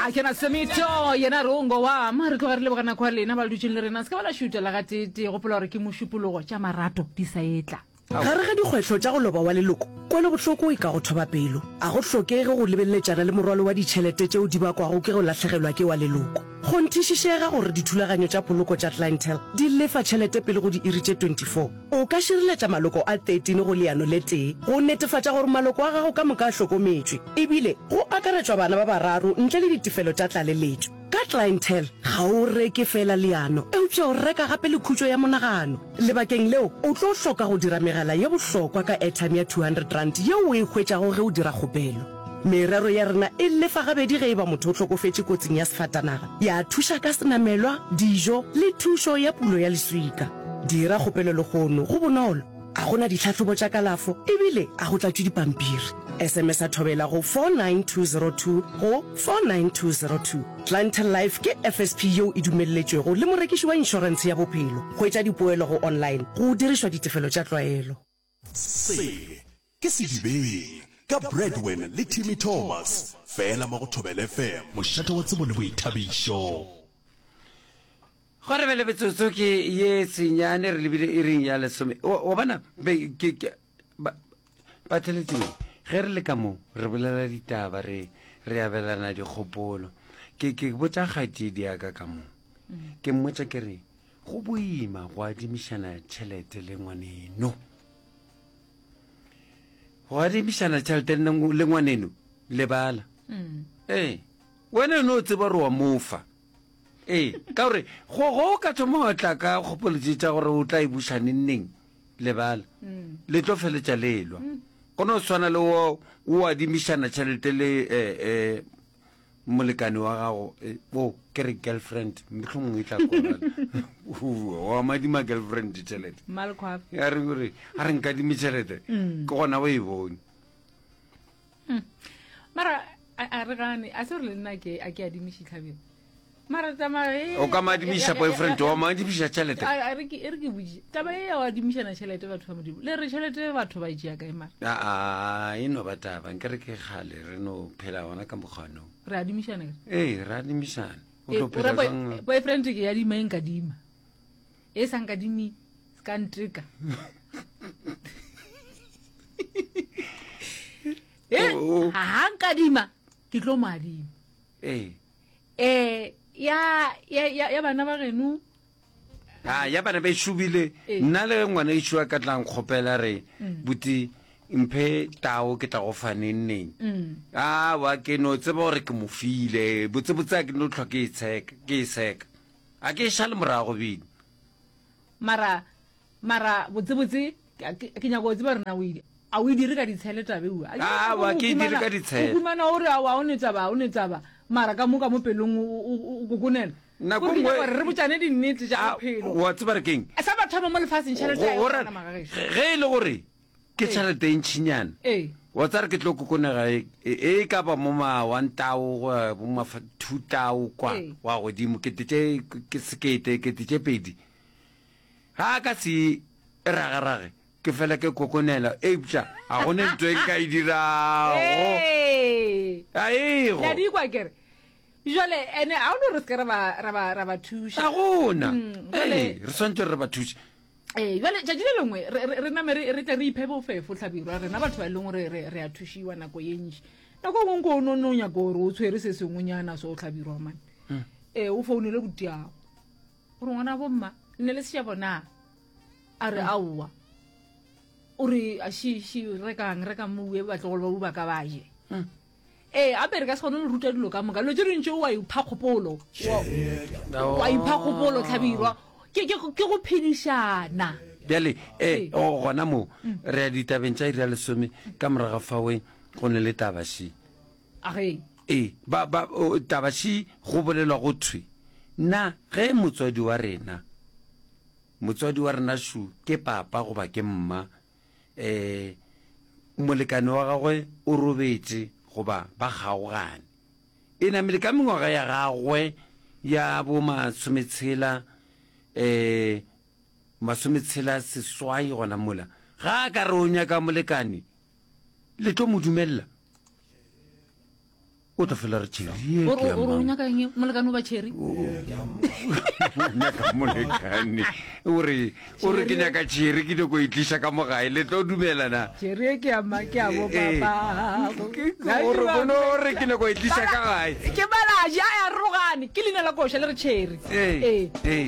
A ke na Semito yena re o ngo wa ma re tloga re leboga nako ya lena ba le dutšeng le rena se ka ba la šuta la gateetee gopola gore ke mošupologo tša marato di sa etla. Gare ga dikgwetlho tša go loba wa leloko, kwelobohloko e ka go thoba pelo. A go hlokege go lebeleletšana le morwalo wa ditšhelete tšeo di bakwago ke go lahlegelwa ke wa leloko. Kgonthišišega gore dithulaganyo tša poloko tša Clientele di lefa tšhelete pele go diiri tše 24. O ka šireletša maloko a 13 go leano le tee go netefatša gore maloko a gago ka moka a hlokometšwe, ebile go akaretšwa bana ba bararo ntle le ditefelo tša tlaleletšo. Ka Clientele, ga o reke feela leano, eupša o reka gape le khutšo ya monagano. Lebakeng leo, o tlo hloka go dira megala ye bohlokwa ka airtime ya R200 yeo o e hwetšago ge o dira kgopelo. Merero ya rena e lefa gabedi ge e ba motho o hlokofetše kotsing ya sefatanaga, ya thuša ka senamelwa, dijo le thušo ya pulo ya leswika. Dira kgopelo lehono, go bonolo, a go na ditlhahlobo tša kalafo ebile a go tlatšwe dipampiri. SMS-a Thobela go 49202 go 49202. Clientele Life ke FSP yeo e dumelletšwego le morekiši wa inšorentshe ya bophelo. Hwetša dipoelo go online go dirišwa ditefelo tša tlwaelo. Se ke Sedibeng ka Bradwin le Timmy Thomas, fela mo go Thobela FM. Mošate wa tsebo le boithabišo. Go re bele metsotso ke ye senyane re lebile iring ya lesome. Wa bona be ke ke ba batheletši ge re le ka mo re bolela ditaba re re abelana dikgopolo. Ke ke botša kgaetšedi ya ka ka mo. Ke mmotša ke re go boima go adimišana tšhelete le ngwaneno. Go adimišana tšhelete le ngwaneno lebala. Ee, wena no tseba gore wa mofa. Ee, ka gore go go ka thoma wa tla ka kgopolo tše tša gore o tla e buša neng neng, lebala. Le tlo feletša le elwa. Go no swana le wo o adimišana tšhelete le eh, eh, molekane wa gago, eh, o ke re girlfriend, mohlomongwe e tla kwagala. Wa madima girlfriend tšhelete. Mmalekgwafe. A re gore a re nkadime tšhelete, ke gona o e bone. Hmm. Mara a re gane a se gore le nna ke a ke adimiše tlhabelo mara tsamaya e o ka madimiša boyfriend wa madimiša tšhelete a re ke e re ke botše taba e ya o adimišana tšhelete batho ba modimo le re tšhelete batho ba e tšea kae mara aa e no ba taba nke re ke kgale re no phela gona ka mokgwanong re adimišana ee re adimišana o tlo phela jwang boyfriend ke ya dima e nkadima e sa nkadimi se ka nteka Eh, Oh. ga nkadima ke tlo mo adima ee um ya ya ya ya bana ba geno a ya bana ba ešobile Ee. nna le ngwana ešo a ka tlang kgopela re buti mphe tao ke tla go fa neng neng Mm. a wa ke no tseba gore ke mo file botsebotse a ke no tlhwa ke e tsheka ke e seka a ke e šale morago bile mara Mara botsebotse ke ke nyaka go tseba gore na o e a o e dire ka ditshele taba eua. A wa ke e dire ka ditshele. O humana o re aowa o ne taba o ne taba mara ka mo ka mo pelong o o o kokonela. Nako Gore ke nyaka nngwe gore re botšane dinnete tša a bophelo. wa tseba re keng? Sa mathomo mo lefaseng tšhelete ga e Go ra gona magagešo. ge e le gore ke Ee. tšhelete e ntšhinyana Ee. wa tseba re ke tlo kokonega e e ka ba mo ma one tao go ya bo ma two tao kwa Ee. wa godimo kete tše ke sekete kete tše pedi. Ga a ka se e ragarage, ke fela ke kokonela, eupša ga go ne ntho e nka e dirago. Ee. Ga ego. Le a di kwa kere? Jwale, ene ga o no re se ke ra ba, ra ba, ra ba thuša. Ga gona. Mm, jwale- Ee, re swanetše gore re ba thuše. Ee, jwale tšatši le lengwe re, re, re name re, re tle re iphe bofefo hlabirwa rena batho ba e leng gore re, re a thušiwa nako ye ntši. Nako e nngwe nko o no no nyaka gore o tshwere se sengwenyana so hlabirwa mane. Ee, o founele butiago. Gore ngwana bomma nne le sešabo na? A re aowa. O re shi shi rekang rekang mo batlogolo ba ba ka ba je. Ee, ape re ka se kgone go ruta dilo ka moka. Dilo tše dintši wa ipha kgopolo. Wa ipha kgopolo tlhabirwa. Ke ke ke go phedišana. Bjale e gona mo re ya ditabeng tša iri ya lesome ka morago ga fawe go ne le taba shi. Age. Ee, ba, ba, o, taba še go bolelwa go thwe, na ge motswadi wa rena, motswadi wa rena šo ke papa goba ke mma, eh, molekane wa gagwe o robetše goba ba kgaogane, e namile ka mengwaga ya gagwe ya bo masometshela, eh, masometshela seswai gona mola, ga a ka re o nyaka molekane, le tlo mo dumelela? O tla fela re Cherry ye O ke ya o mang? nyaka eng molekane o ba Cherry? O nyaka molekane. O re o re ke nyaka Cherry ke nyako e tliša ka mo gae le tlo dumela na? Cherry e ke ya ma ke ya bo Eh, papa. O re o no re ke nyako e tliša ka gae. Ke balaji a ya rogane ke leina la koša le re Cherry. Ee. Ee. Ee.